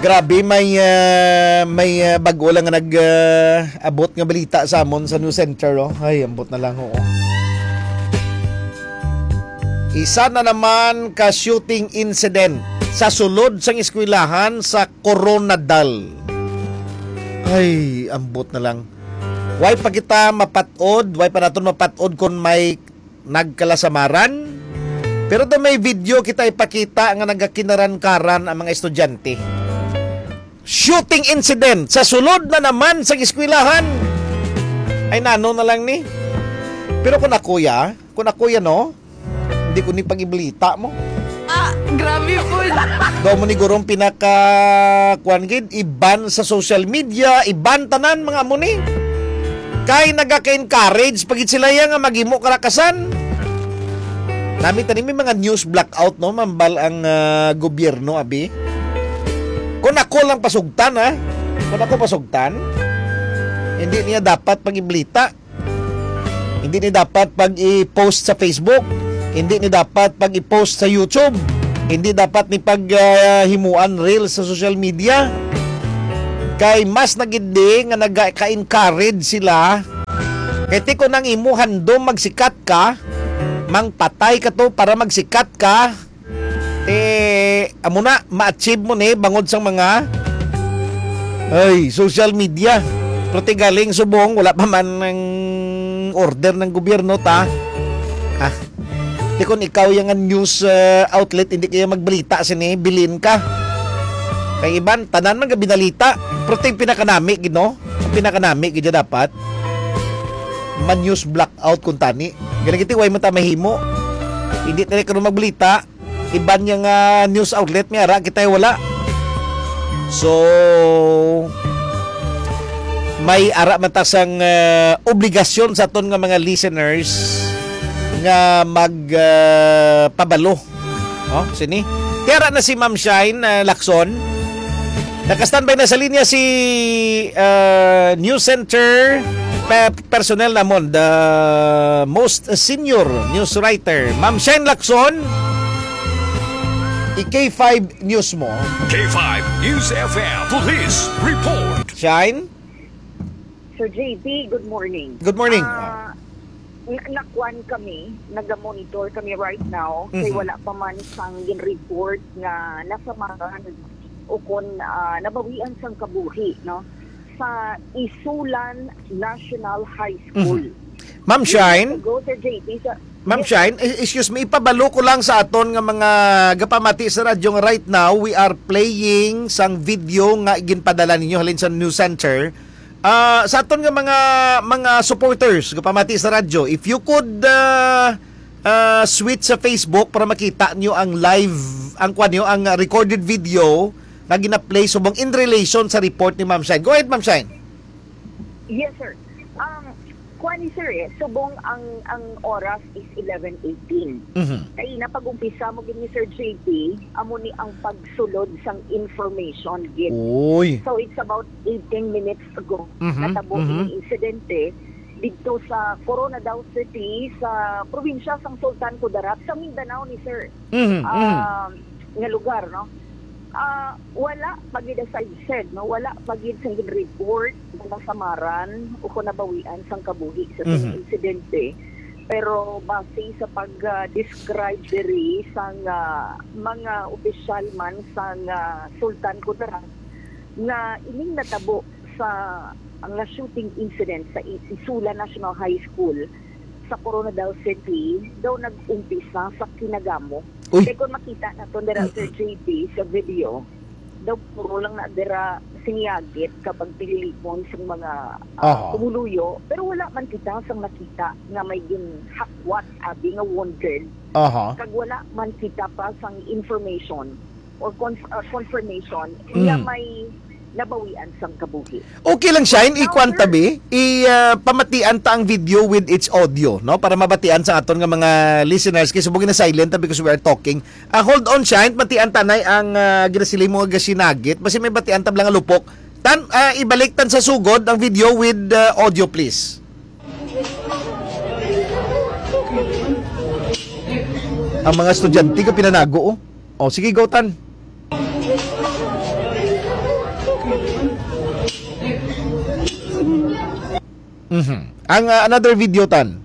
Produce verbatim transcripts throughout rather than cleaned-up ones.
Grabe, may, ah, may, ah, bag-o lang nga nag, ah, abot nga balita sa amon sa news center, oh. Ay, ambot na lang, oo. Isa na naman ka shooting incident sa sulod sang eskwelahan sa Coronadal. Ay, ambot na lang. Why pa kita mapat-od? Why pa naton mapat-od kung may nagkalasamaran? Pero daw may video kita ipakita nga nagakinaran-karan ang mga estudyante. Shooting incident sa sulod na naman sa eskwelahan. Ay, nano na lang ni? Pero kung ako ya, kung ako ya, no, hindi ko ni pag-ibalita mo. Ah, grabe po. Daw mo ni gurong pinaka, kuwan gid, iban sa social media, iban tanan mga amo ni. Kay nagaka-encourage pa gid sila ya nga maghimo karakasan. Nami tani may mga news blackout, no, mambal ang, ah, gobyerno, abi. Kung ako lang pasugtan, ha? Kung ako pasugtan, hindi niya dapat pag-iblita. Hindi ni dapat pag-i-post sa Facebook. Hindi ni dapat pag-i-post sa YouTube. Hindi dapat ni pag, ah, himuan reels sa social media. Kay mas nagindi nga nagaka-encourage sila. Kay ti ko nang imo handom magsikat ka, mangpatay ka to para magsikat ka. Eh, amo na, ma-achieve mo ni bangod sang mga, ay, social media. Pero ti galing subong, wala pa man ang order ng gobyerno, ta. Ah, ti kung ikaw yung news, uh, outlet, hindi kaya magbalita sini, bilin ka. Kay iban, tanan man ka binalita. Pero ti pinakanami, gid, no? Ang pinakanami, gid, dapat. Man news blackout kung tani. Ganun kiti, way mo ta mahimo. Hindi tayo karon magbalita. Iban niya nga news outlet, may ara kita wala. So, may ara man ta sang, eh, obligasyon sa aton nga mga listeners nga mag, eh, pabalo. Oh, sini. Ti ara na si Ma'am Shine, eh, Lacson. Naka-standby na sa linya si, eh, News Center pe-, personnel namon, the most senior news writer, Ma'am Shine Lacson. I-K five News mo. K five News F M Police Report. Shine? Sir J P, good morning. Good morning. Ah, na- nakuan kami, naga-monitor kami right now, kay Mhm. wala pa man sang gin-report nga nasamaran o kon, ah, nabawian sang kabuhi, no, sa Isulan National High School. Mhm. Ma'am Shine? Go, Sir J P, sa Ma'am Yes. Shine, e-, excuse me, ipabalo ko lang sa aton nga mga gapamati sa radyo nga right now, we are playing sang video nga ginpadala ninyo halin sa News Center. Ah, sa aton nga mga, mga supporters, gapamati sa radyo, if you could, ah, ah, switch sa Facebook para makita nyo ang live, ang kwan nyo, ang recorded video nga gina-play subong in relation sa report ni Ma'am Shine. Go ahead, Ma'am Shine. Yes, sir. Um, kuan ni sir eh, subong ang, ang oras is eleven eighteen. Mhm. Kay napag-umpisa mo gid ni Sir J P, amo ni ang pagsulod sang information gid. Uy. So, it's about eighteen minutes ago, Mhm, natabo mhm. ini insidente didto sa Coronadal City, sa probinsya sang Sultan Kudarat, sa Mindanao ni sir. Mhm, mhm. Um, nga lugar, no? Ah, wala pa gid, as I've said, no? Wala pa gid sang gin-report nga nasamaran o kung nabawian sang kabuhi sa Mhm. insidente. Pero base sa pag, ah, describe diri sang, ah, mga opisyal man sang, ah, Sultan Kudarat nga ining natabo sa, nga shooting incident sa I-, Isula National High School sa Coronadal City, daw nag-umpisa sa Kinagamo. Uy. Kay kung makita naton dira, Sir J P, sa video, daw puro lang na dira siniyagit kapag pililipon sa mga, ah, Aha. pumuluyo. Pero wala man kita sang nakita nga may ginhakwat, abi, nga wounded. Aha. Kag wala man kita pa sang information or conf-, uh, confirmation nga Mm. may nabawian sang kabuhi. Okay lang, Shine. Now, Ikuan sir. tabi. I, ah, pamatian ta ang video with its audio, no? Para mabatian sa aton nga mga listeners. Kay subong na silent ta because we are talking. Ah, hold on, Shine. Matian ta nay ang, ah, ginasiling mo nga gasinagit. Basi may batian ta lang nga lupok. Tan, ah, ibalik tan sa sugod ang video with, ah, audio, please. Ang mga estudyante ko pinanago, oh. Oh, sige, go, Tan. Mhm. Ang, ah, another video, Tan.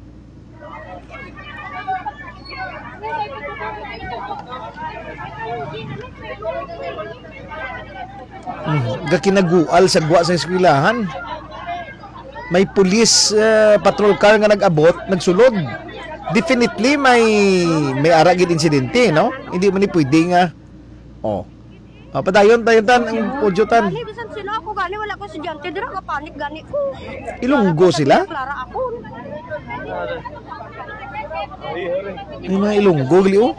Mhm. Gakinagual sa gwa sa eskwelahan. May police, ah, patrol car nga nag-abot, nagsulod. Definitely, may, may ara gid insidente, no? Hindi man ni pwede nga, oh. Ah, padayon, dayon, Tan, ang audio, Tan. Gani, bisan sino ako, gani, wala ko estudyante, dira nga panic, gani ko. Ilonggo sila? Clara ako. May mga Ilonggo, gali, oh.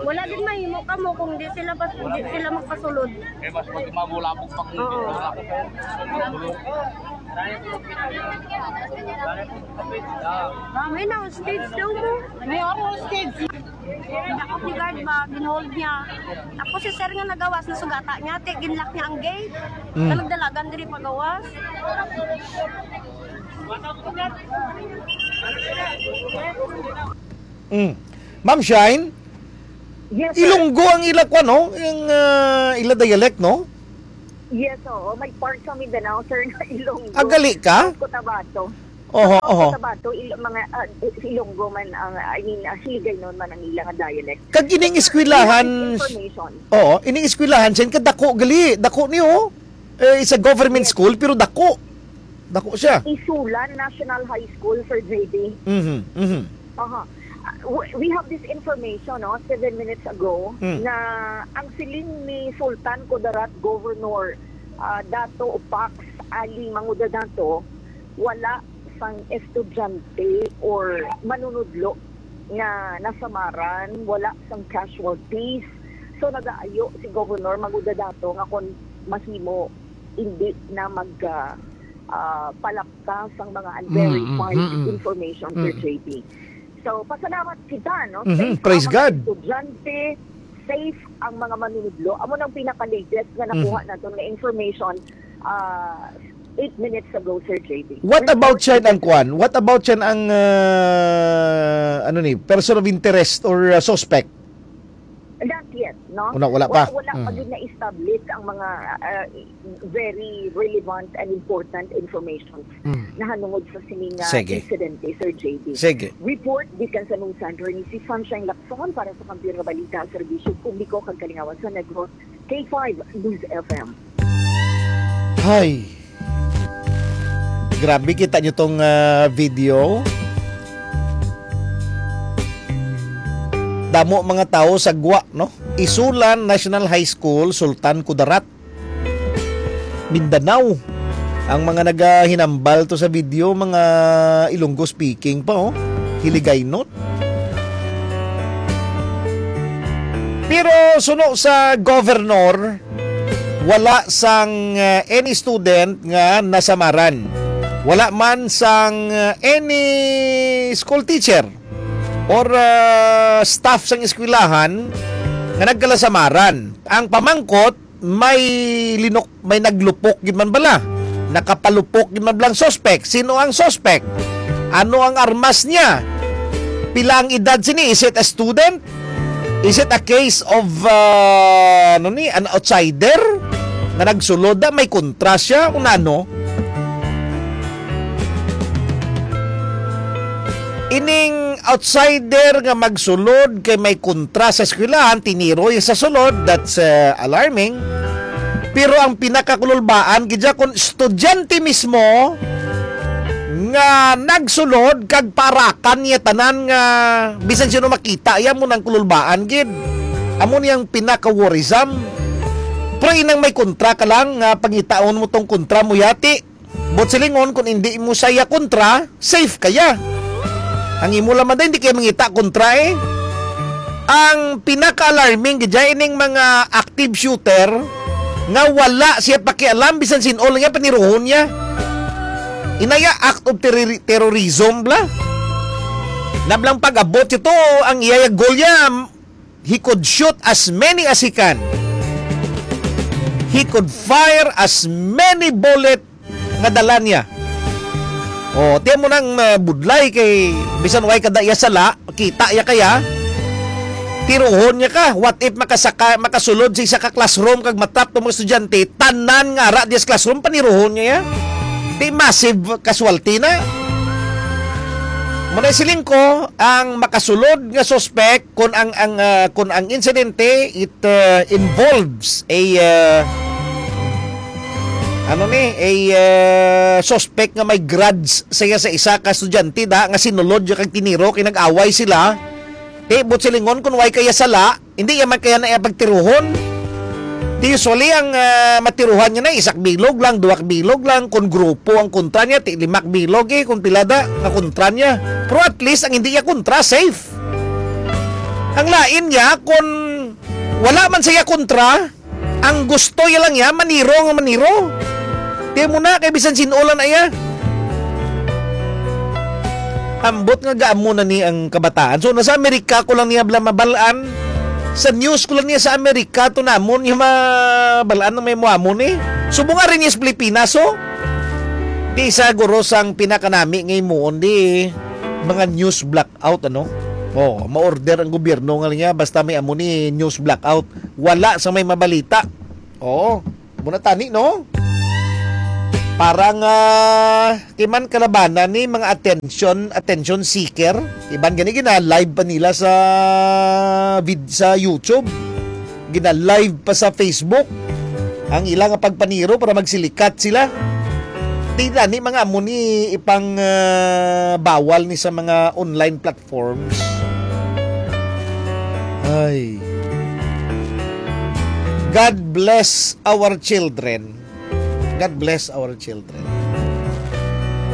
Wala din mahimo ka mo kung di sila pas-, di sila magpasulod. Eh, mas pag mabulabog pang Oo. May na stage daw mo. May ako stage. Ako si guard ba, ginhold niya. Tapos si sir nga nagawas, nasugata niya, ti, ginlock niya ang gate. Mm. Nagdalagan diri pagawas. Mm. Ma'am Shine, Yes, sir. Ilonggo ang ila kwa, no? Ang, ah, ila dialect, no? Yes, oo. May part sa Mindanao, sir, na Ilonggo. Agali ka? Cotabato. Oho, Sa oho. Cotabato, il-, mga, ah, Ilonggo man ang, I mean, ah, Hiligaynon man ang ilang dialect. Kag ining eskwelahan, Information. Oo, ining eskwelahan, Shine, kadako gali, dako niyo. Eh, it's a government Yes. school, pero dako. Dako siya. Isulan National High School, Sir J D. Mhm, mhm. Aha. Uh, w-, we have this information, no, seven minutes ago, Mm. na ang siling ni Sultan Kudarat, Governor, ah, Dato Pax Ali Mangudadato, wala sang estudyante or manunudlo nga nasamaran, wala sang casualties. So, nagaayo si Governor Mangudadato nga kung mahimo, hindi na mag, ah, ah, palapta sang mga unverified Mm, mm, mm, mm. information, Sir Mm. J P. So, pasalamat kita, no? Mhm, Safe praise ang mga God. estudyante, safe ang mga manunudlo. Amo nang pinaka-latest nga nakuha Mhm. naton nga information, ah, eight minutes ago, Sir J P. What Report about siya ang kwan? What about siya ang, ah, ano ni, person of interest or, ah, suspect? Not yet, no? Wala, wala pa. Wala, wala pa Mm. gid na-establish ang mga, ah, very relevant and important information Mm. nahanungod sa sini nga Sige. insidente, Sir J D. Sige. Report gikan sa Nusan, ni si Sunshine Lacson para sa Kampiyon nga Balita, Serbisyo Publiko kag Kalingawan sa Negros, K five News F M. Hay. Grabe, kita nyo tong, ah, video. Damo mga tao sa gwa, no? Isulan National High School, Sultan Kudarat, Mindanao. Ang mga nagahinambal to sa video, mga Ilonggo speaking pa, oh. Hiligaynon. Pero suno sa governor, wala sang, uh, any student nga nasamaran. Wala man sang, uh, any school teacher or, uh, staff sang eskwelahan nga nagkalasamaran. Ang pamangkot, may linok-, may naglupok gid man bala. Nakapalupok gid man bala ang suspect. Sino ang suspect? Ano ang armas niya? Pila ang edad sini? Is it a student? Is it a case of, uh, ano ni, an outsider? Nga nagsulod na, may kontra siya? Kung ano? Ining outsider nga magsulod kay may kontra sa eskwelahan, tiniroy sa sulod, that's, uh, alarming. Pero ang pinakakululbaan, gid siya kung estudyante mismo nga nagsulod kag parakan niya tanan nga bisan sino makita, iya mo nang kululbaan gid. Amo niyang pinaka-worrisome. Pero inang may kontra ka lang nga pangitaon mo tong kontra mo yati. But silingon, kung hindi mo siya kontra, safe kaya. Ang imo lamang din, hindi kaya mangita kontra eh. Ang pinaka-alarming, gid, ining mga active shooter nga wala siya pakialam, bisan sin-o lang niya, paniruhon niya. Inaya, act of terrori-, terrorism, bla. Nablang pag-abot ito, ang iya goal niya, he could shoot as many as he can. He could fire as many bullet nga dala niya. Oh, tiyan mo nang, uh, budlay kay bisan way kada iya sala, kita iya kaya. Tiruhon niya ka. What if makasaka, makasulod sa isa ka classroom kag matrap tong mga estudyante, tanan nga ara diya sa classroom, paniruhon niya ya? Di massive casualty na. Muna siling ko, ang makasulod nga suspect, kung ang, ang, ah, kung ang insidente, it, ah, involves a, ah, ano ni, a, ah, suspect nga may grudge sa iya sa isa ka estudyante da nga sinulod niya kag tiniro kay nag-away sila. Ti, but silingon kung way kaya sala, hindi ya man kaya na iya pagtiruhon. Di usually ang, ah, matiruhan niya na isak bilog lang, duwak bilog lang, kung grupo ang kontra niya, ti limak bilog eh, kung pila da nga kontra niya. Pero at least ang hindi iya kontra, safe. Ang lain niya, kung wala man siya kontra, ang gusto niya lang niya, maniro nga maniro. Di mo na, kay bisan sin-o lang na iya. Ambot nga gaamo na ni ang kabataan. So, nasa Amerika ko lang niya bala mabalaan. Sa news ko lang niya sa Amerika, to namon niya mabalaan ng may muamon eh. Subong nga rin niya sa Pilipinas, oh. Di isa guro sang pinakanami nga imuon di mga news blackout, ano? Oh, ma-order ang gobyerno nga niya basta may amo ni news blackout. Wala sa may mabalita. Oo, muna tani, no? Parang, ah, kiman kalabanan ni mga attention, attention seeker. Iban gani gina-live pa nila sa vid-, sa YouTube. Gina-live pa sa Facebook ang ila nga pagpaniro para magsilikat sila. Di na ni mga amo ni ipang, ah, bawal ni sa mga online platforms. Ay. God bless our children. God bless our children.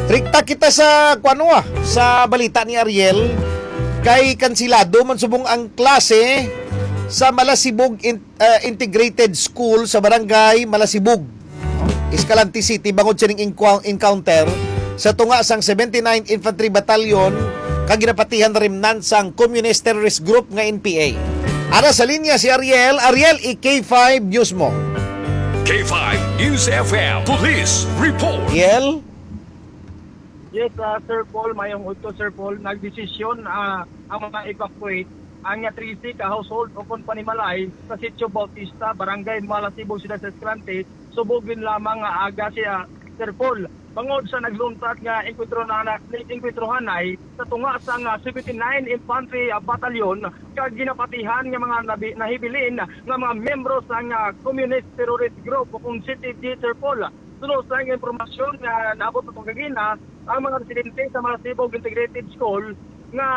Rikta kita sa, kuwan, ah, sa balita ni Ariel, kay kansilado man subong ang klase sa Malasibog In-, ah, Integrated School sa Barangay Malasibog, Escalante City, bangod sining inqua-, encounter sa tunga sang seventy-nine Infantry Battalion kag ginapatihan remnant sang Communist Terrorist Group nga N P A. Ara sa linya si Ariel. Ariel, i-K five News mo. K five News F M Police Report. Ariel? Yes, ah, Sir Paul, mayong udto, Sir Paul. Nagdesisyon, ah, ang mga evacuate, ang nga trese ka household o kon panimalay sa Sitio Bautista, Barangay Malasibog, Siyudad sa Escalante, subugin lamang nga aga siya, Sir Paul. Bangod sa nagluntad nga enkwentro na, na, ni-, enkwentro hanay sa tunga sang seventy-nine Infantry, ah, Battalion, kag ginapatihan nga mga nabi-, nahibilin nga mga miyembro sang, ah, Communist Terrorist Group o kung C T G, Sir Paul. Suno sang impormasyon nga naabot naton kagina, ang mga residente sa Malasibog Integrated School nga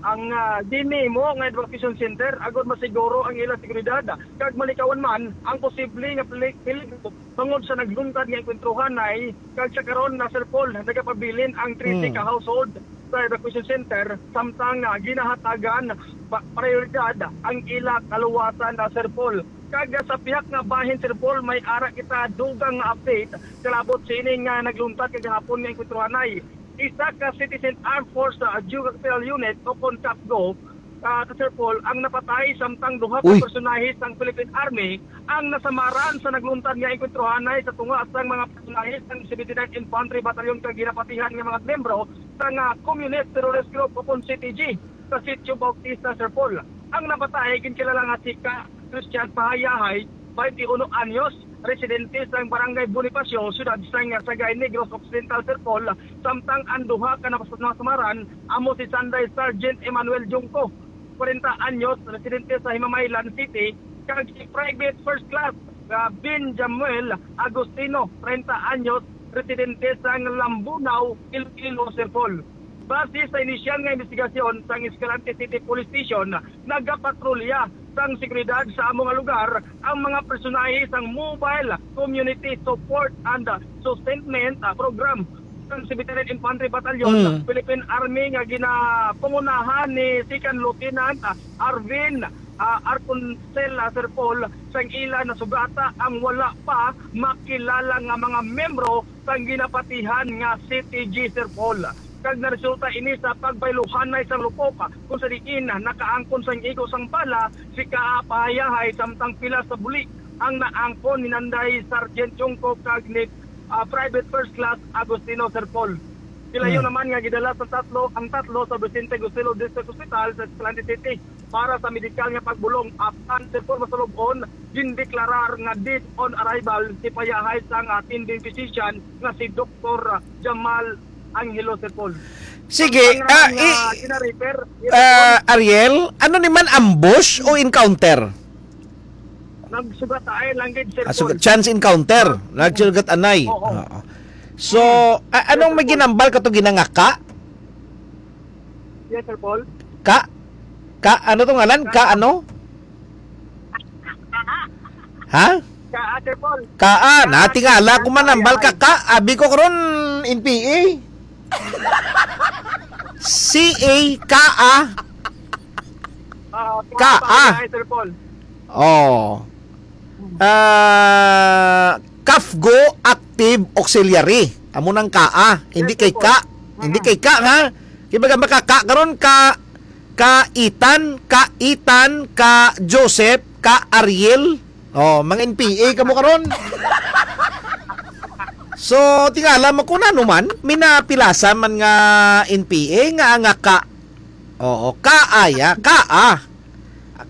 ang, ah, ginhimo nga evacuation center agod masiguro ang ila seguridad kag malikawan man ang posible nga pili-, peligro bangod sa nagluntad nga enkwentro hanay, kag sa karon na, Sir Paul, nagapabilin ang trese ka household sa evacuation center, samtang, ah, ginahatagan pa-, prioridad ang ila kaluwasan na, Sir Paul. Kag sa pihak nga bahin, Sir Paul, may ara kita dugang nga update kalabot sini nga nagluntad kagahapon nga enkwentro hanay. Isa ka Citizen Armed Force, ah, Geographical Unit o kon CAFGO, ah, Sir Paul, ang napatay, samtang duha ka Uy. personahe sang Philippine Army ang nasamaran sa nagluntad nga enkwentro hanay sa tunga sang mga personahe sang seventy-ninth Infantry Battalion kag ginapatihan nga mga miyembro sang, ah, Communist Terrorist Group o kon C T G sa Sitio Bautista, Sir Paul. Ang napatay ginkilala nga si Ka Christian Pahayahay, twenty-one anyos, residente sa Barangay Bonifacio, siyudad sa Sagay, Negros Occidental, Sir Paul, samtang ang duha ka napas-, nasamaran amo si Sanday Sergeant Emmanuel Junco, kwarenta anyos, residente sa Himamaylan City, kag si Private First Class, ah, Ben Jamuel Agustino, treinta anyos, residente sa Lambunao, Iloilo, Sir Paul. Base sa inisyal nga investigasyon sang Escalante City Police Station, nagapatrolya sang seguridad sa amo nga lugar ang mga personahe sang Mobile Community Support and Sustainment, ah, Program sang seventy-ninth Infantry Battalion, Mm. Philippine Army nga ginapangunahan ni Second Lieutenant, ah, Arvin, ah, Arconcel, ah, Sir Paul, sang ila nasugata ang wala pa makilala nga mga miyembro sang ginapatihan nga C T G, Sir Paul. Kag naresulta ini sa pagbayluhanay sang lupok, kung sa diin nakaangkon sang igo sang bala si Ka Pahayahay, samtang pila sa buli ang naangkon ni Nanday Sergeant Junco kag ni, ah, Private First Class Agustino, Sir Paul. Sila Hmm. yun naman nga gidala sa tatlo, ang tatlo sa Vicente Gusillo District Hospital sa Escalante City. para sa medikal nga pagbulong, apang, Sir Paul, masulub-on, gindeklarar nga dead on arrival si payahay sang attending physician nga si Doktor Jamal Angelo, Sir Paul. Sige, Ang ah, ngalan nga i- gina-refer, yes, Sir Paul. ah, Ariel, ano ni man, ambush o encounter? Nagsugat ay lang gid, Sir Ah, so, Paul. chance encounter. Nagsugat anay. Oo. Oo. So, a- anong Yes, Sir may Paul. ginambal ka to, ginangaka? Yes, Sir Paul. Ka? Ka, ano to ngalan? Ka ano? Ha? Ka, ah, Sir Paul. Ka, ah, Ka, natingala ko man ang Ka, balka ka. Abi ko karon, N P A. C A, ka, ah. Ah, Ka, ka, ah. Sir Paul. Oh. Ah, CAFGO active auxiliary. Amo nang ka, ah. Hindi Yes, kay Sir Paul. ka. Hindi Mm. kay ka, ha? Kay baga makaka karon ka, ka Ethan, ka Ethan, ka Joseph, ka Ariel. Oh, mga N P A kamo karon. So, tingala mo kung ano man, minapilasa man nga N P A nga, nga ka. Oo, ka aya, ka, ah.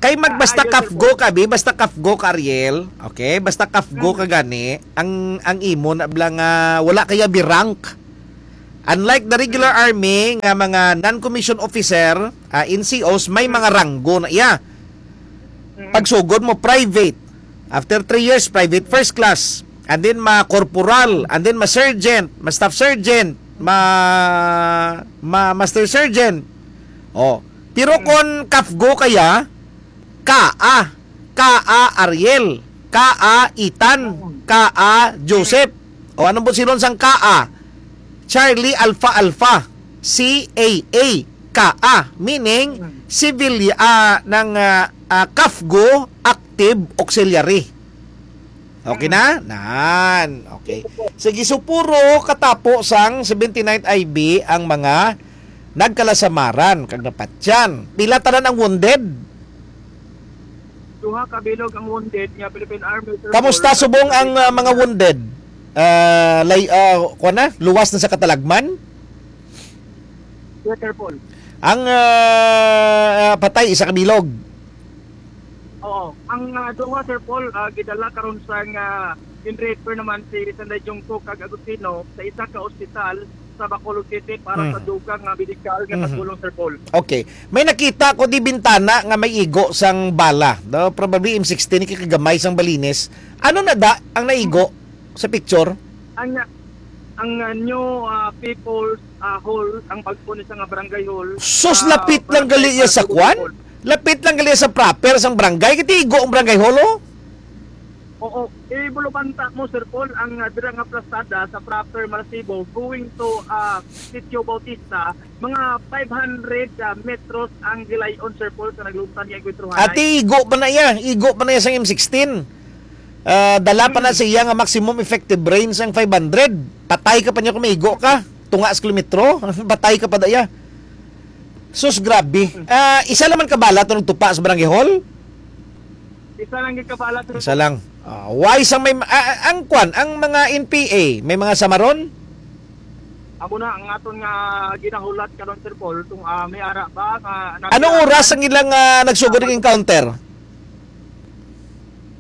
Kay mag-, basta Ka aya, Sir CAFGO Paul. ka, bi, basta CAFGO ka, Ariel. Okay, basta CAFGO ka Mm. gani, ang, ang imo na bala nga wala kaya bi rank. Unlike the regular Mm. army nga mga non-commissioned officer, ah, N C Os, may Mm. mga ranggo na iya. Mm. Pagsugod mo, private. After three years, private first class. And then ma-corporal, and then ma-sergeant, ma-staff sergeant, ma, ma-, master sergeant. Oh. Pero Mm. kon CAFGO kaya, ka, ah, ka, ah, Ariel, ka, ah, Ethan, Mm. ka, ah, Joseph. O, anong busilon sang ka, ah? Charlie Alpha Alpha, C A A, ka, ah, meaning Mm. civil, ah, ng, ah, ah, CAFGO active auxiliary. Okay Mm. na? Nan. Okay. Sige, so puro katapo sang seventy-ninth I B ang mga nagkalasamaran kag napatyan. Pila tanan ang wounded? Duha ka bilog ang wounded nga Philippine Army, Sir Kamusta Paul, subong ang, ah, mga wounded? Ah, lay-, ah, kuwan na? Luwas na sa katalagman? Yes, Sir Paul. Ang, ah, ah, patay, isa ka bilog. Oo. Ang, ah, duha, Sir Paul, ah, gidala karon sa nga in-refer naman si Sanday Jungkook kag Agustino sa isa ka ospital sa Bacolod City para sa Mhm. dugang nga medikal nga Mhm. pagpulong, Sir Paul. Okay. May nakita ko di bintana nga may igo sang bala. No, probably M sixteen, kay kagamay sang balinis. Ano na da ang naigo sa picture? Ang, ang, ah, new, ah, People's, ah, Hall, ang bag-o ni sa nga barangay hall, Sus, ah, lapit lang barangay gali iya sa Barangay kwan? Hall. Lapit lang gali sa proper sang barangay. Kay igo ang barangay hall, oh. Oo, ibulubanta mo, Sir Paul, ang, ah, dira nga plasada sa proper Malasibo, going to, ah, Sitio Bautista, mga five hundred, ah, metros ang gilay-on, Sir Paul, sa naglumtan nga engkwentruhanay. Ati, igo pa na iya, igo pa na iya sang M sixteen. Ah, dala pa na Hmm. sa iya nga maximum effective range ang five hundred. Patay ka pa niya kung maigo ka. Tunga sa kilometro, patay ka pa da iya. Sus, grabe. Hmm. Ah, isa naman ka bala to nagtupa sa barangay hall? Isa lang gid ka bala, sir. Isa lang. Ah, why sa may, ah, ah, ang kwan, ang mga N P A, may mga samaron? Amo na ang aton nga ginahulat karon, Sir Paul, kung, ah, may ara ba nga nag- Anong oras ang ilang, ah, nagsugod ng encounter?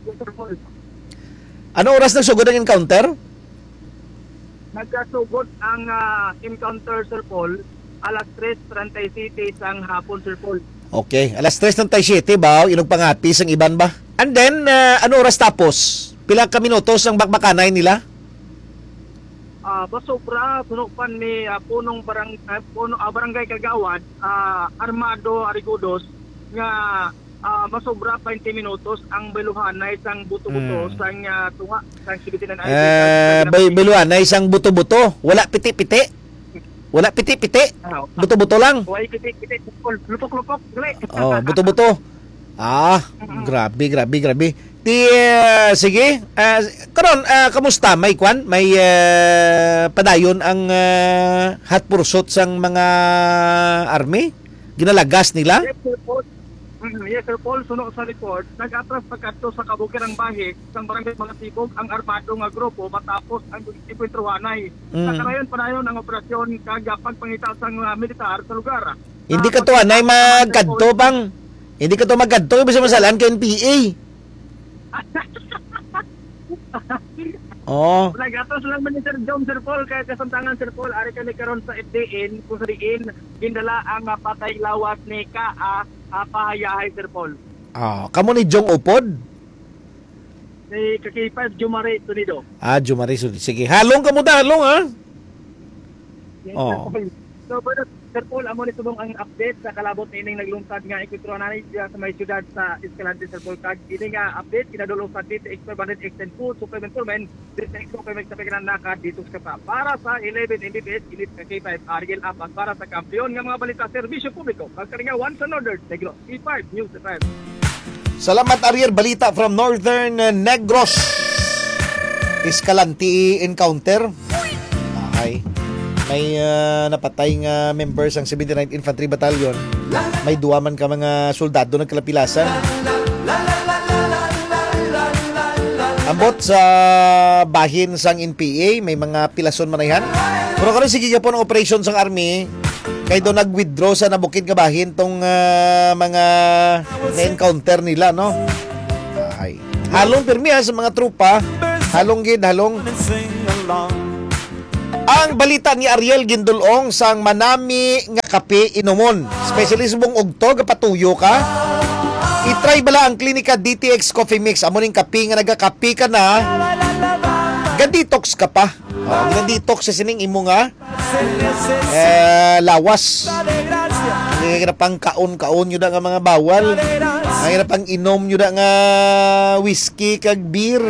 Yes, Sir Paul. Anong oras nagsugod ang encounter? Nagkasugod ang, ah, encounter, Sir Paul, alas tres treinta y siete sang hapon, Sir Paul. Okay, alas tres treinta y siete ba? Inog pangapis ang iban ba? And then, ah, ano oras tapos? Pila ka minutos ang bakbakanay nila? Ah, masobra, suno pa ni, ah, punong barang-, ah, puno, ah, barangay kagawad, ah, Armando Arigudos, nga, ah, masobra twenty minutos ang bayluhanay sang buto-buto Mm. sang, ah, tunga sang seventy-nine Ah, Island. Bay-, bayluhanay sang buto-buto. Wala piti-piti. Wala piti-piti. Ah, Buto-buto lang. Wala piti-piti. Lupok-lupok. Dali. Oh, buto-buto. Ah, Mm. grabe, grabe, grabe. Ti, ah, sige. Ah, karon, ah, kamusta? May kwan? May, ah, padayon ang, ah, hot pursuit sang mga army? Ginalagas nila? Yes, Sir Paul. Mm, yes, Sir Paul. Suno sa report, nag-atras pagkadto sa kabukiran bahin sang Barangay Malasibog ang armado nga grupo matapos ang enkwentruhanay. Mm. Sa karayon padayon ang operasyon kag pagpangita sang, ah, militar sa lugar. Hindi Ah, ka to anay pagkita sa mga magkadto, Sir Paul. Bang. Hindi ka to magkadto, ibig sabihin, masalaan ka N P A. Oh. Nagatos lang man ni Sir Jom, Sir Paul, kaya kasamtangan, Sir Paul, ari kami karon sa F D N, kung sa diin, gindala ang, ah, patay lawas ni Ka, ah, ah, Pahayahay, Sir Paul. Ah, kamo ni Jong Upod? Ni Kakipad, Jumari Tunido. Ah, Jumari Tunido. Sige, halong kamo ta, halong, ha? Yes, Oh. Sir Paul. So, brother, Sir Paul, amo ni subong ang update sa kalabot nining naglungtad nga enkwentro na ni sa may siyudad sa Escalante, Sir Paul. Kag ini nga update, kinadulong sa D T X five hundred X ten Food Supplement Formen, D T X Supplement sa Pagkanan Naka Detox ka pa. Para sa eleven M B P S, init ka K five, Ariel Apas. Para sa kampiyon nga mga balita, serbisyo publiko, kag kalingawan sa Northern Negros, K five News F M. Salamat, Ariel. Balita from Northern, uh, Negros. Escalante encounter. Ay. May, uh, napatay nga member sang seventy-ninth Infantry Battalion. May duwa man ka mga soldado nagkalapilasan. Ambot sa bahin sang N P A, may mga pilason manayhan. Pero karon, sige gyapon ang operation sang army. Kay do nag-withdraw sa nabukid nga bahin tong, ah, mga na-encounter nila, no? Ay. Halong pirmi, ha, sa mga tropa. Halong gid, halong. Ang balita ni Ariel gindulong sang manami nga kape inumon. Especially subong ugto, gapatuyo ka. I-try bala ang Klinika D T X Coffee Mix. Amo ning kape nga nagakape ka na. Ga-detox ka pa. Oh, gina-detox sa sining imo nga eh, lawas. Ang ira pang kaon-kaon nyo da nga mga bawal. Ang ira pang inom nyo da nga whiskey kag beer.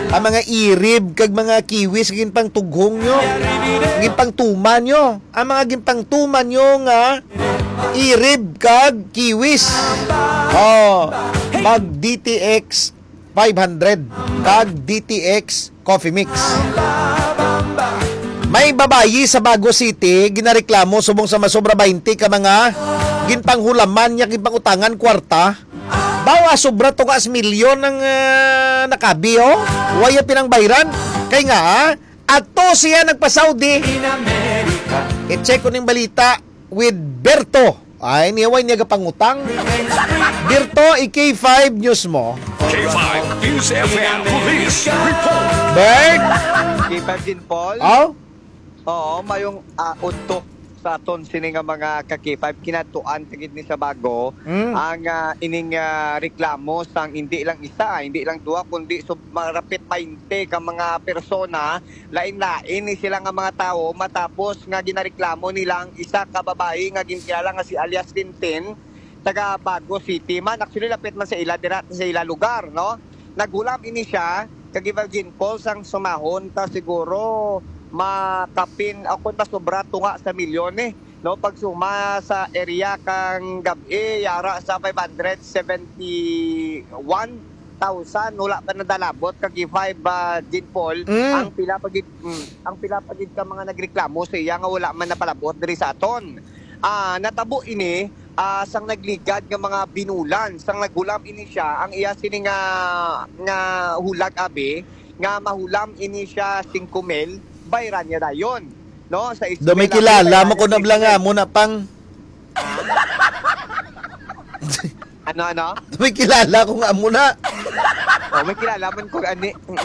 Ang mga irib kag mga kiwis, ginpangtughong nyo. Ginpangtuman nyo. Ang mga ginpangtuman nyo nga irib kag kiwis. Oh, mag D T X five hundred kag D T X Coffee Mix. May babayi sa Bago City ginareklamo subong sa masobra twenty ka mga ginpanghulaman niya, ginpangutangan kwarta. Bawa sobra to ka milyon ang, ah, nakabi, oh. Waya pinangbayran. Kay nga, ah, ato siya nagpa-Saudi. I-check ko ning balita with Berto. Ay, niya way niya gapangutang. Birto, i-K five news mo. K five News F M Police Report. Bert? K five din, Paul? Oh? Oo, mayong, ah, udto sa aton sini nga mga ka-K five, kinadtuan ta gid ni sa bago Mm. ang, ah, ining, ah, reklamo sang hindi lang isa, hindi lang duha, kundi sub-, marapit twenty ka mga persona, lain-lain ni sila nga mga tawo, matapos nga ginareklamo nila ang isa ka babayi nga ginkilala nga si alias Tintin, taga Bago City man. Actually, lapit man sa ila, dira sa ila lugar, no? Naghulam ini siya, kag Virgin Falls ang sumahon ta siguro makapin, ako, masobra tunga sa milyon, eh, no? Pagsuma sa area kang gab-i, yara sa five hundred seventy-one thousand, wala pa nadalabot kag five, ah, Jean Paul, Mm. ang pila pa gid, mm, ang pila pa gid ka mga nagreklamo sa iya nga wala man napalabot diri sa aton. Ah, natabo ini, ah, sang nagligad nga mga binulan, sang naghulam ini siya, ang iya sini nga, nga hulag, abi, nga mahulam ini siya singko mil, bayran niya dayon, no? Sa Do may iskwela, kilala may mo ko na bala nga, amo na pang Ano, ano? May kilala ko nga amo na. Oh, may kilala man ko ani. Mm.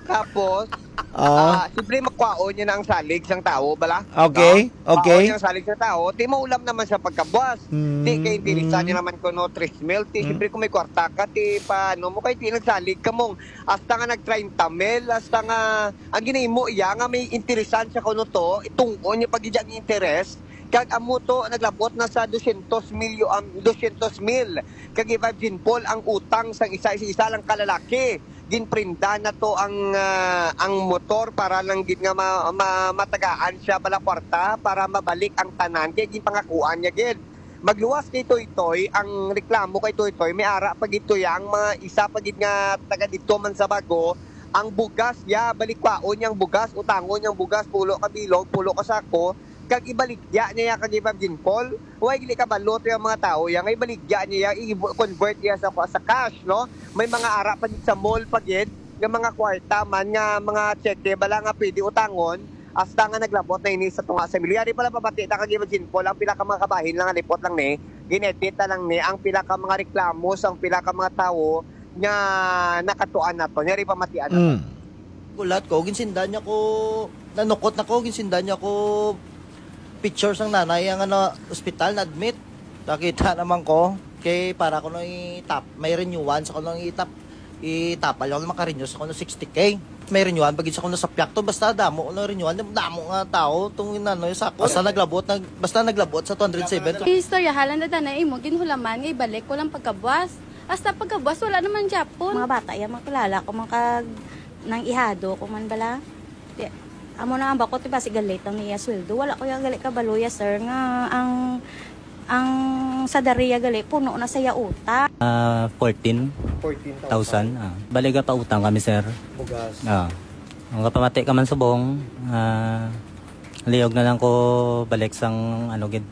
Tapos, Ah. ah, siyempre, makwaon niya na ang salig sang tawo, bala? Okay, No? Makwaon okay. niya ang salig sang tawo, di maulam naman sa pagkabuas. Mm, Di kay interesan mm. niya naman kuno tres mil. Di, Mm. siyempre, kung may kwarta ka, di pa, ano mo, kay di nagsalig ka mong, hasta nga nag treinta mil, hasta nga, ang ginahimo iya nga may interesan siya kuno to, itungkon niya pag ang interes, kag amo to, naglabot na sa dosyentos milyo-, um, dosyentos mil. Kag i-five Jean Paul ang utang sang isa, isa, isa lang kalalaki. Ginprinda na to ang, ah, ang motor para lang gid nga ma-, ma-, matagaan siya bala kwarta para mabalik ang tanan kay ginpangakuan niya gid. Magluwas kay Toytoy, ang reklamo kay Toytoy, may ara pa gid to ya, ang mga isa pa gid nga taga didto man sa Bago, ang bugas ya, balikwaon niya ang bugas, utangon niya ang bugas, pulo ka bilog, pulo ka sako, kag ibaligya niya ya kag i-five Jean Paul. Way gili kabalo to ya mga tawo ya, nga ibaligya niya ya, i-convert niya sa, sa cash, no? May mga ara pa gid sa mall pa gid, nga mga kwarta man, nga mga tseke bala nga pwede utangon, hasta nga naglabot na ini sa tunga sa milyon. Yari pala pabati na kag i-five Jean Paul, ang pila ka mga kabahin lang, halipot lang ni, Ginedit na lang ni ang pila ka mga reklamo sang pila ka mga tawo nga nakatuan nato. Yari pamatian nato. Mm. Gulat ko, ginsindan niya ko, nanukot na ko, ginsindan niya ko picture sang nanay nga na ospital, na-admit. Nakita naman ko, kay para ko nang itap, may renewal sa ko nang itap, itapal ako na makarenew sa ko ng sixty K. May renewal, pag sa ko na sa piyak to, basta damo ko na renewal, damo nga tao, itong inano, sa ako. Basta naglabot, nag, basta naglabot sa two hundred seven. Istoryahalan na tanay mo, ginhulaman nga ibalik ko lang pagkabuas. Hasta pagkabuas, wala naman gyapon. Mga bata, yan, makilala ko, mga kag-, nang ihado ko man bala. Di, amo na ang bako, diba, si galit ang iya sweldo. Wala ko yung gali kabalo ya, sir, nga ang, ang sa Daria gali, puno na sa iya utak. Ah, fourteen thousand. Fourteen thousand, ah. Baliga pa utang kami, sir. Bugas. Ah. Ang kapamati ka man subong, ah, liog na lang ko balik sang, ano, gid,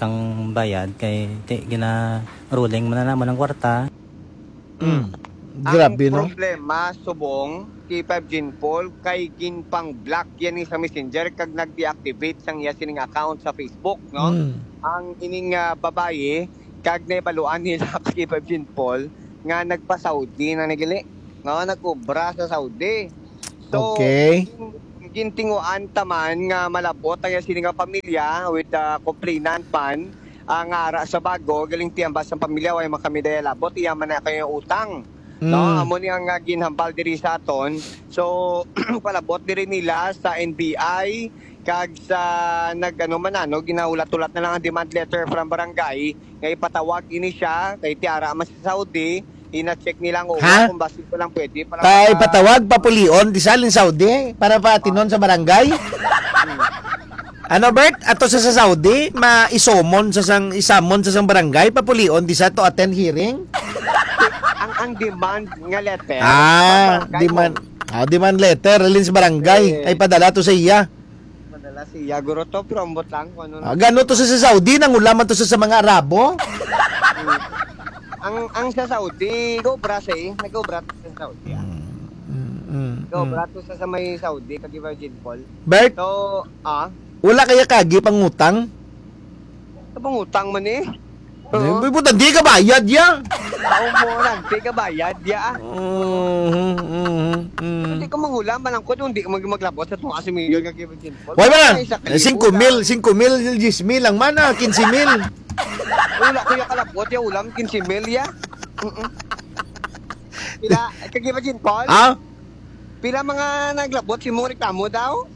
sang bayad kay ti-, gina-rolling man na naman ang kwarta. Mm. Ang Grabe, no? Problema, subong, K five Jean Paul, kay ginpang-block yan ni sa Messenger kag nag-deactivate sang iya sining account sa Facebook, no? Mm. Ang ining, ah, babayi, kag naibaluan nila kay K five Jean Paul nga nagpa-Saudi na nagili, no? Nagkubra sa Saudi. So, Okay. gin-, gintinguan ta man nga malabot ang iya sini nga pamilya with the complainant man, ah, nga ara sa bago, galing tiyambas ang pamilya, way man kami daya labot, iya man na kayo utang. No, Mm. amo ni ang, ah, ginhambal diri sa aton. So, palabot diri nila sa N B I, kag sa nag-, ano man, ano, ginahulat-hulat na lang ang demand letter from barangay nga ipatawag ini siya kay tiara man sa Saudi, ina-check nila ang uwa Ha? kung basi ko lang pwede pa lang Tay, sa patawag, papulion, di sa alin Saudi, para patinon sa barangay? Ano, Bert? Ato sa, sa Saudi, ma-isomon sa sang, isamon sa sang barangay, papulion, di sa to attend hearing? Ang, ang demand nga letter, Ah, sa barangay demand. mo. Ah, demand letter, alin sa barangay. Eh. Ay, padala to sa iya. Padala sa iya, guro to, pero ambot lang kung ano Ah, na. gano to sa, sa Saudi, nangulaman to sa, sa mga Arabo? Hmm. Ang, ang sa Saudi, nag-obra siya eh. Nag-obra to sa Saudi, ah. Mm, mm, mm, Nag-obra mm. to sa, sa may Saudi, kag Virgin Paul. Bert? So, ah? Wala kaya kagi pangutang? Sa pangutang man eh. Oo. Di, di, di ka bayad ya. Tao mo lang, di ka bayad ya. Mhm, mhm, mhm. Hindi ko manghulam, malangkod, hindi ko mag-, maglabot sa tong asimilyo nga Virgin Paul. Wala na. Ay, sa Eh, singko mil, singko mil, diyes mil lang man, ah, kinse mil. Wala ko yung kalabot, yung ulam, kinse mil, ya. Mm-mm. Pila, kag Virgin Paul? Ah? Pila mga naglabot si mong reklamo daw?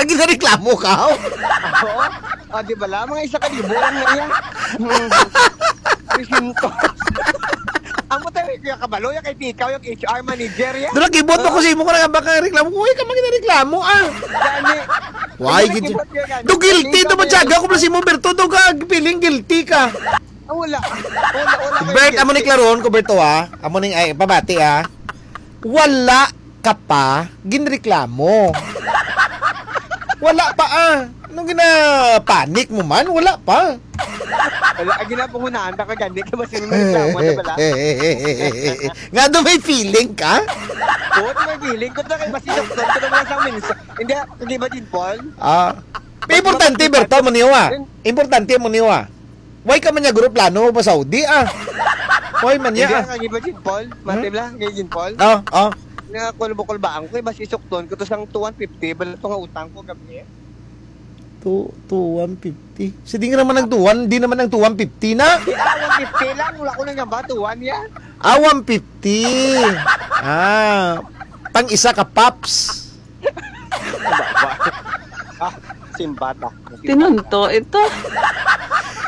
Ginareklamo ka, oh? Oo. Ah, di ba lang? Mga isa ka libo lang na iya. Hmm. Three hundred. Amo tayo, Kuya Kabalo, yung kay ikaw, yung H R manager, ya? Doon, nag-ibot ako sa imo ko na baka reklamo ko. Uy, ka man ginareklamo, ah. Gani. Why, Ano gid-, nag-ibot ka gani? do guilty, Ikaw do man na siya, yun. ako pala si mo, Berto, do ka, feeling guilty ka. Ah, wala. Wala, wala kayo Bert, amo ni guilty. klaron ko, Berto, ha? Amo ning, ay, pabati, ha? Wala ka pa ginreklamo. Wala pa, ah. Anong gina-panic mo man? Wala pa. Wala, ang ginapangunahan na ka gani, kay mas yung reklamo na pala. Nga daw may feeling ka? Oo, may feeling ko to, kay mas yung doktor ko naman sa minsan. Hindi, ah, kag Virgin Paul. Ah. Importante, Berto, mo niyo, ah. Importante mo niyo, ah. Why ka man niya group plano pa Saudi, ah? Why man niya, Hindi, ah? Kag Virgin Paul. Mati Hmm? lang, kag Virgin Paul. Oh, oh. Nga, kulbukol ba ang ko, eh, mas isukton ko to sang two one fifty, bala to nga utang ko, gabi. Two, two one fifty. Sige naman ang two one, di naman ang two one fifty na. Di, ah, one fifty lang, wala ko nang gamba, two one yan. Ah, one fifty. Ah, pang isa ka pops. Baba. Ah, simbata. Tinunto ito.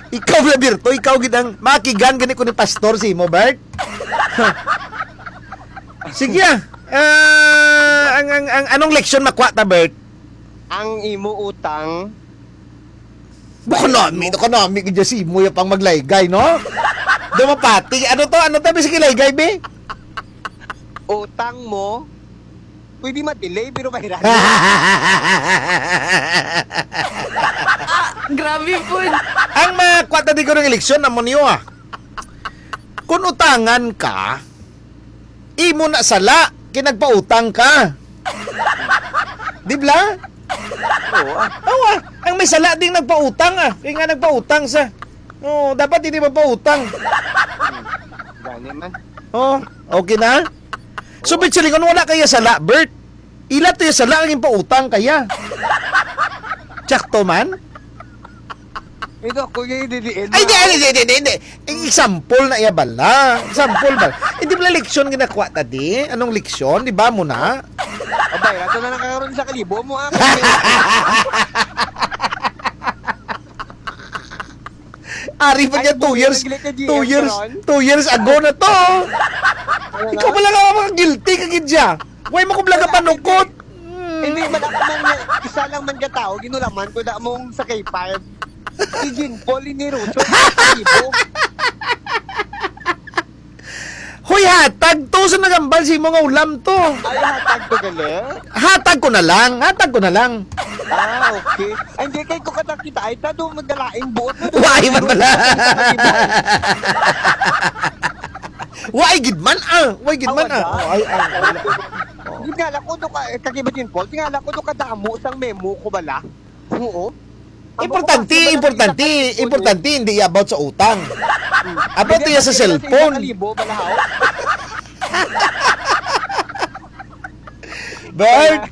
Ikaw, Roberto, ikaw gid ang makigan gani ko ni Pastor si mo, Bert. Sige, ah. Ah, ang, ang, ang, anong leksyon makuha ta, Bert? Ang imo utang. Baka nami, baka nami, gid si mo yung pang maglaygay, no? Dumapati. Ano to? Ano to? Bisig laygay, be? Utang mo, pwede ma-delay, pero mahirap. Ah, grabe po. Ang mga kwata di ko ng eleksyon, amo niyo, ah. Kung utangan ka, imo na sala, kinagpautang ka. Di bla? Oo, ah. Awa, Ang may sala ding nagpautang, ah. Kaya nga nagpautang sa. Oh, dapat hindi magpautang. Gani man. Oh, okay na? So, Bert, silingon, wala kaya sala, Bert. Ila to yung sala, ang pautang kaya. Tsakto man? Ito, ako yung didiin Ay, mo. Hindi, hindi, hindi, hindi, hindi. Example na iya bala. Example ba? Hindi bala leksyon ginakuha ta di? Anong leksyon? Di ba mo na? Abay, rato na lang karon sa kalibo mo, ah. Ari pa Ay, niya, two buhay years, ang Glick ni two G M years, karon. Two years ago na to. Ano Ikaw na? Pala nga mga guilty ka gid siya. Why mo ko bala Wala, panukot? Hindi man ako man nga, isa lang man ka tao, ginulaman ko na mong sa K five. Si Jean Paul, ni Russo, sa Cebu. Hoy, hatag to sa nagambal si mo nga ulam to. Ay, hatag to gali? Hatag ko na lang, hatag ko na lang. Ah, okay. Ay, hindi, kay ko katakita, ay, tado magdalaing buot na. Why man bala? Why gid man, ah? Why gid man, ah? Awa na. Oh, ay, ah, wala. Yun nga lang, kuno ka, eh, kag iba din, Paul, yun nga lang, kuno kadamo sang memo ko bala. Oo. Importante, Ang importante, importante, hindi about sa utang. About Hindi, niya sa kasi cellphone. Kalibo, balahaw. Bert!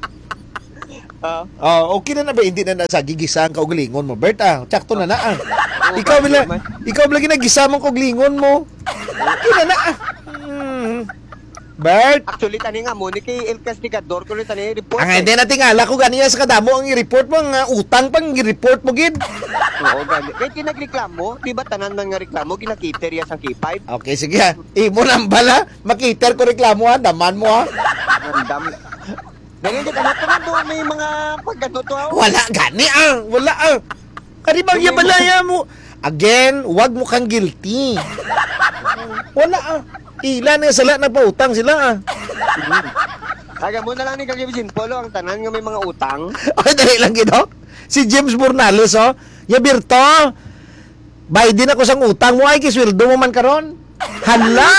Ah. Oh, okay na na ba? Hindi na na sa gigisa ang kaugalingon mo, Bert, ah. Tsakto na na, ah. Oo, Ikaw ba bala, naman? Ikaw bala ginagisa mong kaugalingon mo. Okay na na, ah. Hmm. Bert? Actually, tani nga mo, ni kay El Castigador, ko ni tani report, Ang eh. Hindi na tingala ko ganiya sa kadamo ang i-report mo, ang, ah, utang pang i-report mo, gid. Oo, gani. Kaya tinagreklamo, di ba tanan man nga reklamo, ginakiter ya sang K five? Okay, sige, ah. Imo nang bala, makiter ko reklamo, ha. Daman mo, ha. Ang dami. Ganyan, di, ano to, ano to, may mga pag ano to, ha? Wala gani, ah. Wala, ah. Kari bang Hindi iya mo balaya mo? Again, wag mo kang guilty. Wala, ah. Ila na sila, nagpautang sila, ah. Taga mo na lang ni Kagibis Jean Paul, ang tanan nga may mga utang. Ay, dali lang, gid, oh. Si James Bornales, oh. Ya, Birto, Biden ako sang utang mo, ay, kisweldo mo man karon. Hala!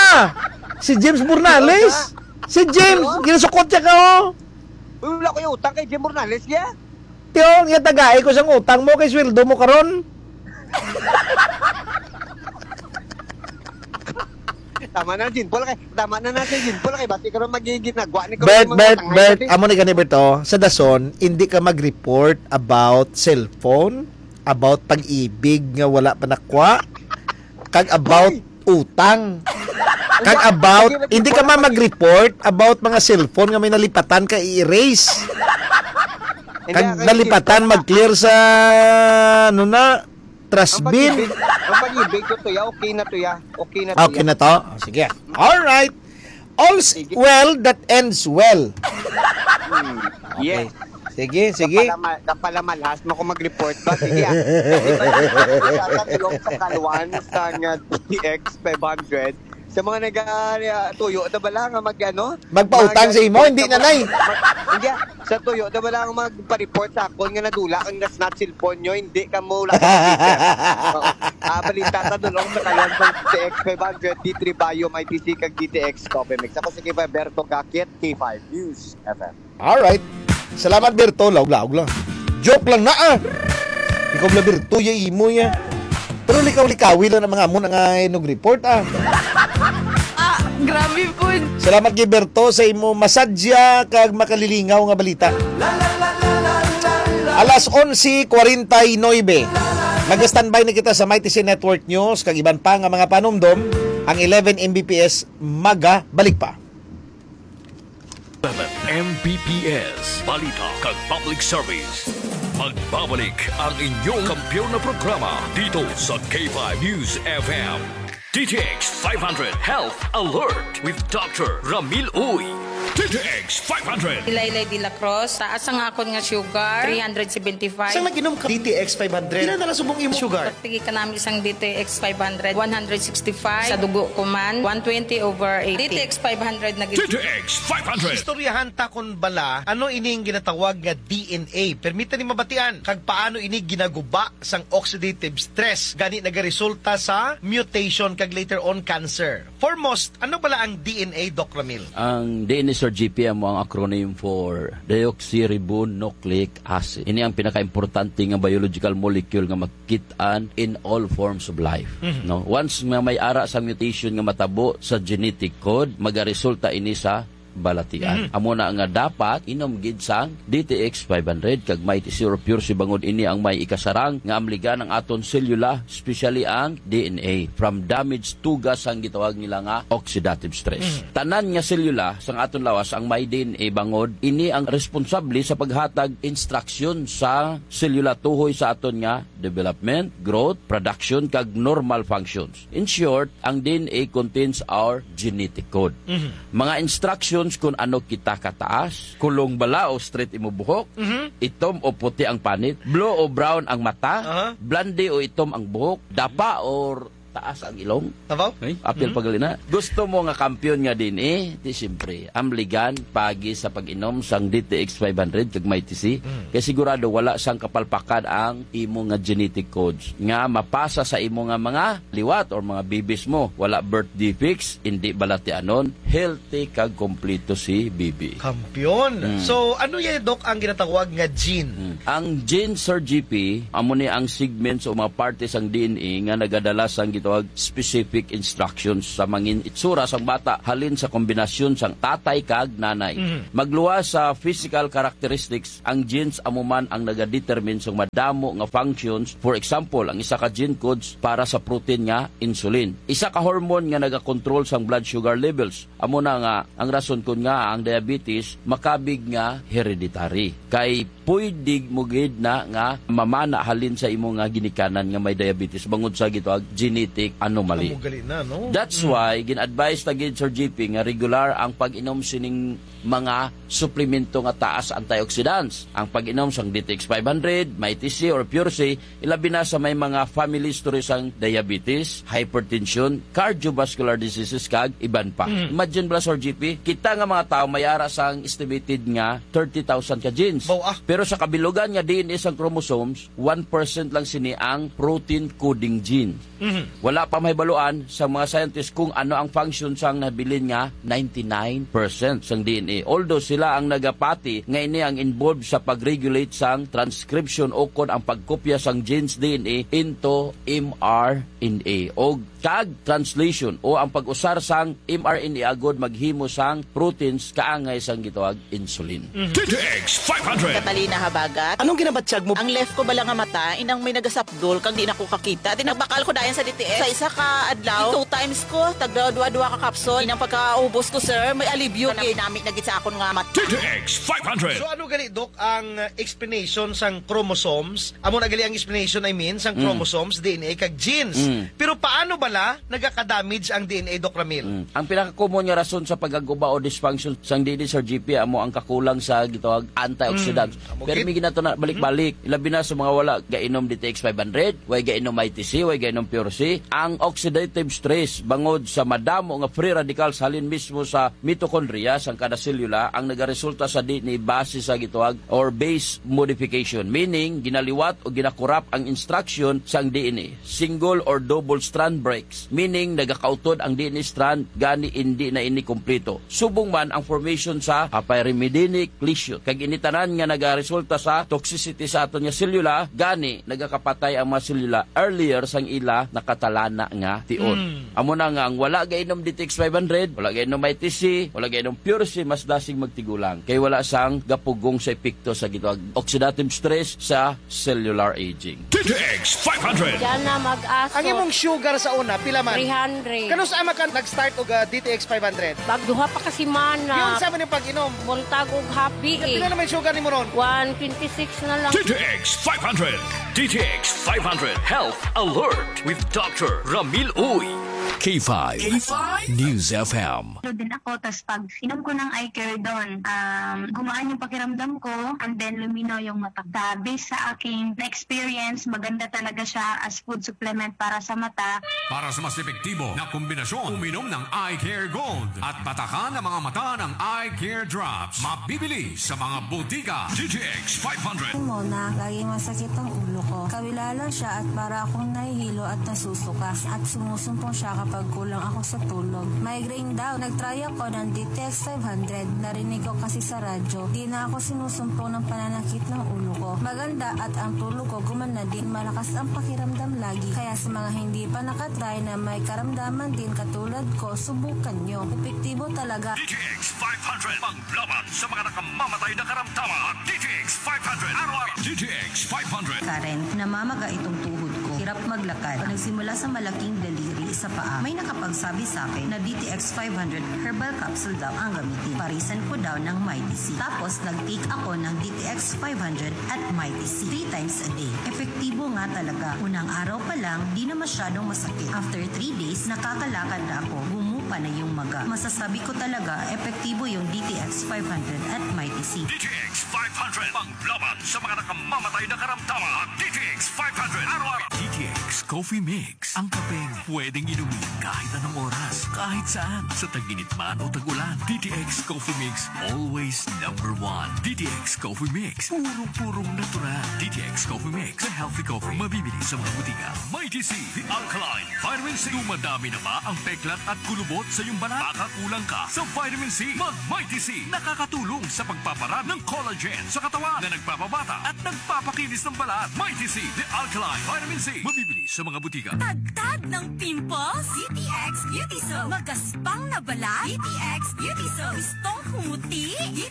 Si James Bornales. Si James, Ano? Ginasukot siya ka, oh. Uy, wala ko yung utang kay Jim Bornales, ya. Tiyo, nga tagai ko sang utang mo kay sweldo mo karon. Tama na, Jean Paul, kay, tama na natin, Jean Paul, kay basi karon magiging ginagwa ni karon Bert, yung mga Bert, utang, Bert, ay, amo ni gani, Bert, oh. Sa dason, hindi ka mag-report about cellphone, about pag-ibig nga wala pa nakwa, kag about Uy! Utang. Kag Hindi, about, hindi, hindi ka hindi man mag-report about mga cellphone nga may nalipatan ka i-erase. Hindi, Kag ang nalipatan cellphone, mag-clear sa, ano na, trash ang bin. Pag-ibig, ang pag-ibig ko to ya, okay na to ya. Okay na to Okay ya. Na to? Oh, sige. All right. All's Sige. Well that ends well. Hmm. Okay. Yes. Sige, sige. Kapalamal-, kapalamalhas mo kung mag-report ba? Sige, ah. Sa tulong sa kalwan sa nga D T X five hundred, sa mga nag, ah, tuyo na bala nga mag, ano? Magpautang Mag, sa imo, hindi na, nay. Mag, hindi, ah. Sa tuyo na bala nga magpa-report sa akon nga nadula ang nasnatch cellphone nyo, hindi ka mo lang. Oo. Ah, balita sa tulong sa kalwan sa D T X five hundred, D three Bio, M I T C, kag D T X Coffee Mix. Ako si Kifa Berto Gakit, K five News F M. Alright. Salamat, Berto. Laog-laog lang. Joke lang na, ah. Ikaw bala, Berto, ya imo ya. Pero likaw-likawi lang ang mga amo na nga inog report, ah. Ah, grabe po. Salamat kay Berto sa imo masadya kag makalilingaw nga balita. Alas onse kwarenta y nuebe. Mag-standby na kita sa Mighty C Network News kag iban pa nga mga panumdom. Ang eleven M B P S maga balik pa. M P P S, balita kag public service. Magbabalik ang inyong kampiyon na programa dito sa K five News F M. D T X five hundred Health Alert with Doctor Ramil Uy. D T X five hundred. Laylay de la Cruz, taas ang akon nga sugar, three hundred seventy-five. Sa nag-inom ka D T X five hundred, pila na lang subong imong sugar? Sige ka namin isang D T X five hundred, one hundred sixty-five. Sa dugo ko man, one twenty over eighty. D T X five hundred na gid. D T X five hundred. Istoryahan ta kon bala, ano ining ginatawag nga D N A? Permita ni mabatian, kag paano ini ginaguba sang oxidative stress, gani nagaresulta sa mutation kag later on cancer. Foremost, ano bala ang D N A, Doc Ramil? Ang D N A, G P M ang acronym for deoxyribonucleic acid. Ini ang pinakaimportante nga biological molecule nga makit-an in all forms of life. Mhm. No? Once nga may ara sang mutation nga matabo sa genetic code, magaresulta ini sa balatian. Mhm. Amo na nga dapat inom gid sang D T X five hundred kag Mighty C or Pure C bangod ini ang may ikasarang nga amligan ang aton selula, especially ang D N A, from damage tugas sang gitawag nila nga oxidative stress. Mhm. Tanan nga selula sang aton lawas ang may D N A bangod ini ang responsable sa paghatag instruksyon sa selula tuhoy sa aton nga development, growth, production, kag normal functions. In short, ang D N A contains our genetic code. Mhm. Mga instructions kung ano kita kataas, kulong bala o straight imo buhok, Mhm. itom o puti ang panit, blue o brown ang mata, Aha. blonde o itom ang buhok, dapa or taas ang ilong. Tabaw? Ay? Apil Mhm. pagalina. Gusto mo nga kampiyon nga D N A? Di siyempre, amligan pagi sa pag-inom sang D T X five hundred kag Mighty C. Mm. Kay sigurado wala sang kapalpakan ang imo nga genetic codes nga mapasa sa imo nga mga liwat or mga bibis mo. Wala birth defects, hindi balatianon, healthy kag kompleto si bibi. Kampiyon. Mm. So, ano ya, Doc, ang ginatawag nga gene? Mm. Ang gene, Sir G P, amo ni ang segments o mga parte sang D N A nga nagadala sang gitawag specific instructions sa mangin itsura sang bata halin sa kombinasyon sang tatay kag nanay. Mhm. Magluwas sa physical characteristics, ang genes amo man ang nagadetermine sang madamo nga functions. For example, ang isa ka gene codes para sa protein nga insulin. Isa ka hormone nga nagakontrol sang blood sugar levels. Amo na nga ang rason kun nga ang diabetes makabig nga hereditary. Kay pwede mo gid na nga mamana halin sa imo nga ginikanan nga may diabetes bangod sa gitawag genetic anomaly. Amo gali na, no? That's Mm. why gin-advise ta gid, Sir G P, nga regular ang pag-inom sining mga suplemento nga taas antioxidants. Ang pag-inom sang D T X five hundred, Mighty C or Pure C, ilabi na sa may mga family history sang diabetes, hypertension, cardiovascular diseases, kag iban pa. Mm. Imagine bala, Sir G P, kita nga mga tawo may ara sang estimated nga thirty thousand ka genes. Baw, ah. Pero sa kabilugan nga D N A sang chromosomes, one percent lang sini ang protein coding gene. Mhm. Wala pa mahibaluan sa mga scientist kung ano ang function sang nabilin nga ninety-nine percent sang D N A. Although sila ang nagapati nga ini ang involved sa pag-regulate sang transcription ukon ang pagkopya sang genes D N A into M R N A o kag translation o ang pag-usar sang M R N A agod maghimo sang proteins kaangay sang gitawag insulin. D T X five hundred. Catalina Habagat. Anong ginabatyag mo? Ang left ko bala nga mata, inang may nagasapdol, kag di na ko kakita. Di nagbakal ko dayon sa D T X. Sa isa ka adlaw, two times ko, tagda dua-dua ka capsule. Inang pagkaubos ko, sir, may alibyo gid. Nami na gid sa akon nga mata. D T X five hundred. So, ano gali, Doc, ang, uh, explanation sang chromosomes? Amo na gali ang explanation, I mean, sang Mm. chromosomes, D N A, kag genes. Mm. Pero paano bala nagaka-damage ang D N A, Doc Ramil? Mm. Ang pinaka-common nga rason sa pagkaguba o dysfunction sang D N A, Sir G P, amo ang kakulang sa gitawag antioxidants. Mm. Amo Pero gid. May ginato na balik-balik. Mm. Labi na sa mga wala gainom D T X five hundred, way gainom I T C, way gainom Pure C. Ang oxidative stress bangod sa madamo nga free radicals halin mismo sa mitochondria sang kada selula ang nagaresulta sa D N A base sa gitawag or base modification. Meaning, ginaliwat o ginakurap ang instruction sang D N A. Single or double strand breaks. Meaning, nagakautod ang D N A strand, gani indi na ini kompleto. Subong man ang formation sa apyrimidinic lesion. Kag ini tanan nga nagaresulta sa toxicity sa aton nga selula, gani nagakapatay ang mga selula earlier sang ila nakatalana nga tion. Mm. Amo na nga ang wala gainom D T X five hundred, wala gainom I T C, wala gainom Pure C, mas dasig magtigulang. Kay wala sang gapugong sa epekto sa gitawag oxidative stress sa cellular aging. D T X five hundred. Diyan na mag-aso. Ang imong sugar sa una, pila man? Three hundred. Kanus-a man ka nag-start og, ah, D T X five hundred? Pag duha pa ka semana. Yun sa man yung pag-inom? Multag og happy Pila eh. naman yung sugar ni mo ron? One twenty-six na lang. D T X five hundred. D T X five hundred Health Alert with Doctor Ramil Uy. K five K five News F M. Ano din ako, tas pag inom ko ng eye care doon, um, gumaan yung pakiramdam ko, and then lumino yung mata. Sa, based sa aking na-experience, maganda talaga siya as food supplement para sa mata. Para sa mas epektibo na kombinasyon, uminom ng Eye Care Gold at patakan ang mga mata ng Eye Care Drops. Mabibili sa mga botika. D T X five hundred. Mona, laging masakit ang ulo ko. Kawila lang siya at para akong nahihilo at nasusuka. At sumusumpong siya pagkulang ako sa tulog. Migraine daw. Nag-try ako ng D T X five hundred. Narinig ko kasi sa radyo. Di na ako sinusumpong ng pananakit ng ulo ko. Maganda at ang tulog ko gumanda din. Malakas ang pakiramdam lagi. Kaya sa mga hindi pa nakatry na may karamdaman din katulad ko, subukan nyo. Epektibo talaga. D T X five hundred, panglaban sa mga nakamamatay na karamdaman. D T X five hundred, araw-araw. D T X five hundred. Karen, namamaga itong tuhod ko. Hirap maglakad. Nagsimula sa malaking daliri sa paa. May nakapagsabi sa akin na D T X five hundred herbal capsule daw ang gamitin. Parisan ko daw ng Mighty C. Tapos, nag-take ako ng D T X five hundred at Mighty C three times a day. Epektibo nga talaga. Unang araw pa lang, di na masyadong masakit. After three days, nakakalakad na ako. Gumupa na yung maga. Masasabi ko talaga, epektibo yung D T X five hundred at Mighty C. D T X five hundred, panglaban sa mga nakamamatay na karamdaman. D T X five hundred, araw-araw. D T X Coffee Mix, ang kapeng pwedeng inumin kahit anong oras, kahit saan, sa tag-init man o tag-ulan. D T X Coffee Mix, always number one. D T X Coffee Mix, purong-purong natural. D T X Coffee Mix, the healthy coffee, mabibili sa mga butika. Mighty C, the alkaline vitamin C. Dumadami na ba ang peklat at kulubot sa iyong balat? Baka kulang ka sa vitamin C. Mag Mighty C, nakakatulong sa pagpaparami ng collagen sa katawan na nagpapabata at nagpapakinis ng balat. Mighty C, the alkaline vitamin C. Mabibili sa mga butika. Tagtag ng pimples? D T X Beauty Soap. Magaspang na balat? D T X Beauty Soap. Gustong kumuti? D